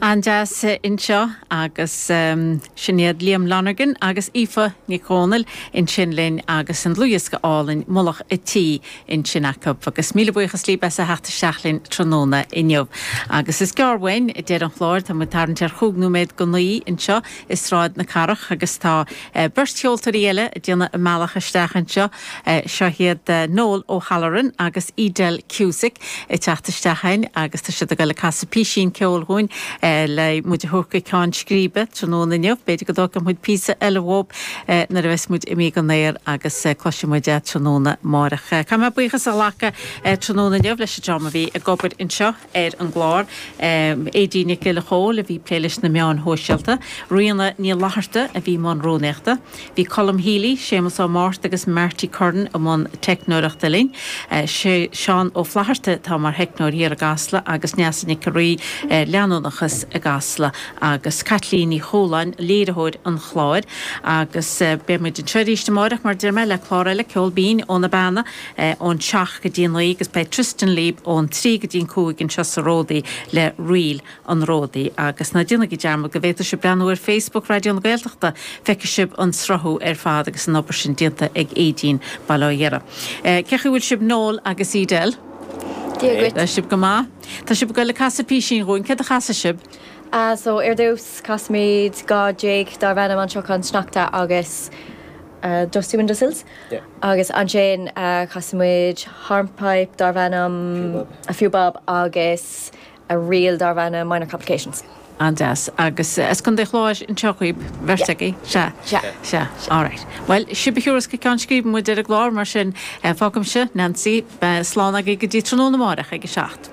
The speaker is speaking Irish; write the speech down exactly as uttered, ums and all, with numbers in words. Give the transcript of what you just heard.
An-deas anseo agus um, sin iad Liam Lonergan agus Aoife Nic Dhomhnaill ansin linn agus an dlúthdhiosca álainn Mullach an Tí ansin acu agus míle buíochas libh as a theacht isteach linn tráthnóna inniu. Agus is gearr uainn deireadh an chláir tá muid tarraingt ar chúig nóiméad go naoi anseo i Sráid na Cathrach agus tá uh, beirt cheoltóirí eile ag déanamh a mbealach isteach anseo uh, seo iad uh, Noel O'Halloran agus Edel Cusack ag teacht isteach chugainn agus tá siad ag dul ag casadh píosín ceoil dhúinn uh, le muid a thabhairt go ceann scríbe tráthnóna inniu, b'fhéidir go dtógfaidh muid píosa eile uathub uh, nuair a bheas muid imithe ón aer agus uh, cloisfidh muid é tráthnóna amárach. Uh, Caithfidh mé buíochas a ghlacadh uh, tráthnóna inniu leis an dream a bhí ag obair anseo ar an gclár. Um, Aedín Nic Giolla Chóill a bhí ag plé leis na meáin shóisialta, Ríona Ní Fhlatharta a bhí i mbun rúnaíochta, Bhí Colm Healy, Séamus Ó Máirt agus Marty Curran i mbun teicneoireachta linn, uh, sé Seán Ó Flatharta tá mar theicneoir thiar i gCasla agus Neasa Nic Rí uh, leanúnachas i gCasla agus Caitlín Ní Chualáin léiritheoir an chláir agus uh, beidh muid anseo arís amárach mar deir mé le clár eile Ceol Binn ó na Beanna uh, ón seacht go dtí naoi agus beidh Tristan Lieb ón trí go dtí cúig anseo sa Ródaí le Ríl an Ródaí agus ná déanaigí dearmad go bhféadfaidh sibh breathnú ar Facebook Raidió na Gaeltachta feicfidh sibh an sruthú ar fad agus an obair sin déanta ag Aedín Baile Dhéire. Uh, Cén chaoi a bhfuil sibh Noel agus Edel? Dia dhuit. Tá sibh go maith? Tá sibh ag dul ag casadh píosín dhúinn, céard a chasfaidh sibh? Uh, so ar dtús casfaimid dhá jig darb ainm An Sruthán Sneachta agus uh, Dusty Windowsills. Yeah. Agus ansin uh, casfaimid hornpipe darb ainm a few bob agus a reel darb ainm Minor Complications. An-deas agus as Contae an Chláir anseo dhaoibh beirt agaibh se Se. Se alright. Well sibh a thiúrfas go ceann scríbe muid ar an gclár mar sin eh, fágaimse Nancy slán agaibh go dtí tráthnóna amárach ag a seacht.